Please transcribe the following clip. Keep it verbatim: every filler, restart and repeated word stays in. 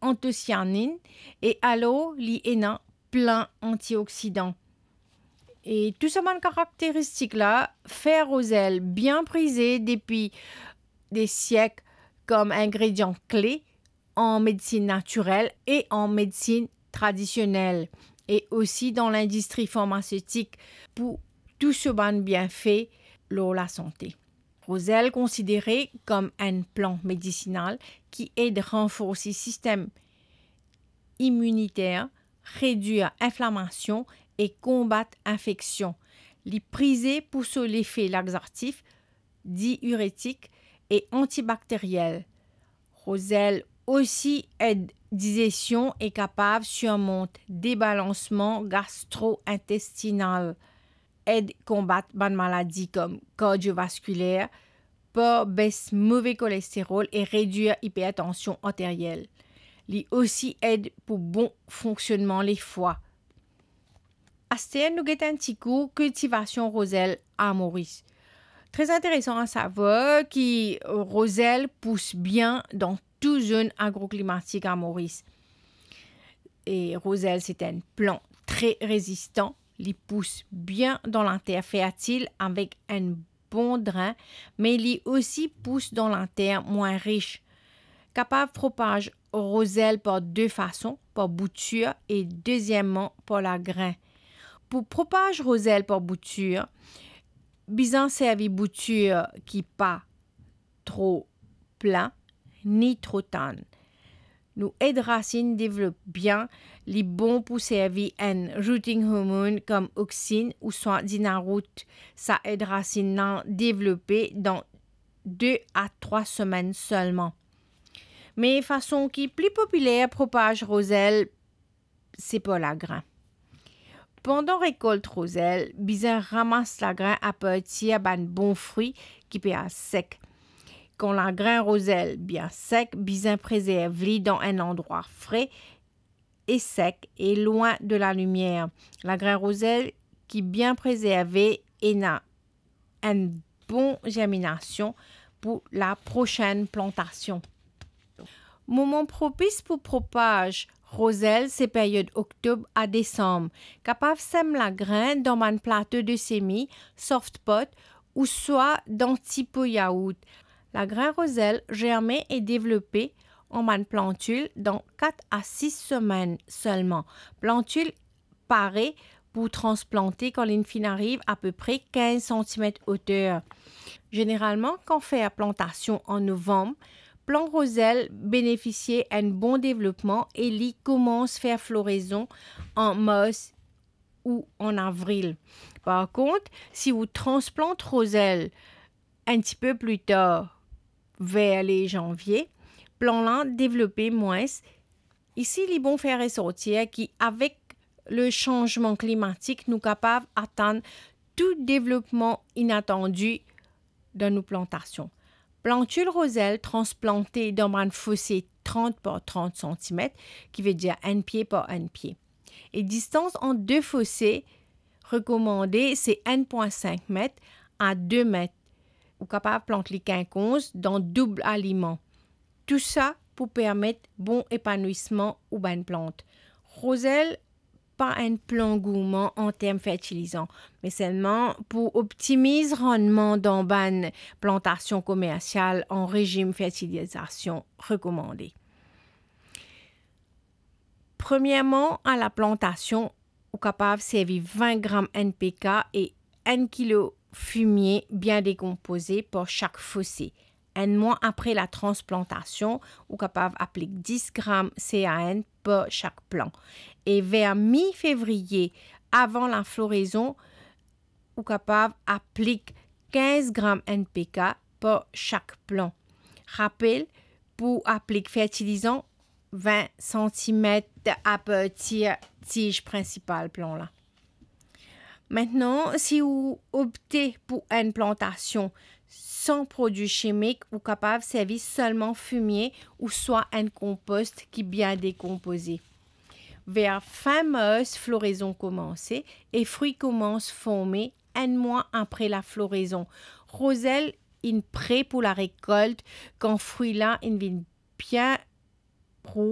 antosianinn, e alor li ena plin antioksidan. E tou sa bann karakteristik la fer rozel bien prize depi de siek kom ingredian kle an medsin natirel e an medsin tradisionel, e osi dan lindistri farmasetik pou tou so bann bienfe lor lasante. Rozel konsidere kom enn plant medisinal ki ed ranforsi sistem iminiter, redwir inflamasion e konbat infeksion. Li prize pou so lefe laxatif, diiretik e antibakteriel. Rozel osi ed dizesion e kapav sirmont debalansman gastro-intestinal, ed konbat bann maladi kom kardiovaskuler, par bes move kolesterol e redwir ipertansion arteriel. Li osi ed pou bon fonksionnman lefwa. Aster nou get enn ti kou kiltivasion rozel a Moris. Tre interesan a savwar ki rozel pous bien dan tou zone agroklimatik a Moris. E rozel se enn plant tre rezistan. Li pous bien dan later fertil avek enn bon drin, me li osi pous dan later mwin ris. Kapav propaz rozel par de fason, par boutir e dezieman par lagrin. Pou propaz rozel par boutir, bizin servi boutir ki pa tro plin, ni tro tann. Nou ed rasinn devlop bien, li bon pou servi enn rooting hormone kom Oxin ouswa Dinaroot. Sa ed rasinn la devlope dan de a trwa semenn selman. Me fason ki pli popiler propaz rozel, se par lagrin. Pandan rekolt rozel, bizin ramas lagrin apartir bann bon fri ki pe al sek. Kan lagrin rozel bien sek, bizin prezerv li dan enn landrwa fre e sek e lwin de lalimier. Lagrin rozel ki bien prezerve ena enn bon zerminasion pou laprosenn plantasion. Moman propis pou propaz rozel se period oktob a desam. Kapav sem lagrin dan bann plato de semi, soft pot, ouswa dan ti po yaourt. Lagrin rozel zerme e devlope an bann plantil dan kat a sis semenn selman. Plantil pare pou transplante kan linn finn ariv apepre kinz santimet oter. Zeneralman, kan fer plantasion an novam, plan rozel benefisie enn bon devlopman e li koumans fer florezon an mars ou an avril. Par kont, si ou transplant rozel enn ti pe pli tar, ver le zanvie, plan la devlope mwins. Isi, li bon fer resortir ki avek le sanzman klimatik, nou kapav atann tou devlopman inatandi dan nou plantasion. Plantil rozel transplante dan bann fose trant par trant santimet, ki vedir enn pie par enn pie. E distans ant de fose rekomande se enn pwin sink met a de met. Ou kapav plant li kinkonz dan doub aliman. Tousa pou permet bon epanwisman ou bann plant. Rozel pa enn plan gourman an term fertilizan, me selman pou optimiz rannman dan bann plantasion komersial an rezim fertilizasion rekomande. Premierman, a laplantasion, ou kapav servi vin gram N P K e enn kilo fimie bien dekonpoze par sak fose. Enn mwa apre latransplantasion, ou kapav aplik dis gram C A N par sak plan. E ver mi fevriye, avan laflorezon, ou kapav aplik kinz gram N P K par sak plan. Rapel, pou aplik fertilizan, vin santimet apartir tiz prinsipal plan la. Aster, si ou opte pou enn plantasion san prodwi simik, ou kapav servi selman fimie ouswa enn konpost ki bien dekonpoze. Ver fin mars, florezon koumanse e fri koumans forme enn mwa apre laflorezon. Rozel inn pre pou larekolt kan fri la inn vinn bien rouz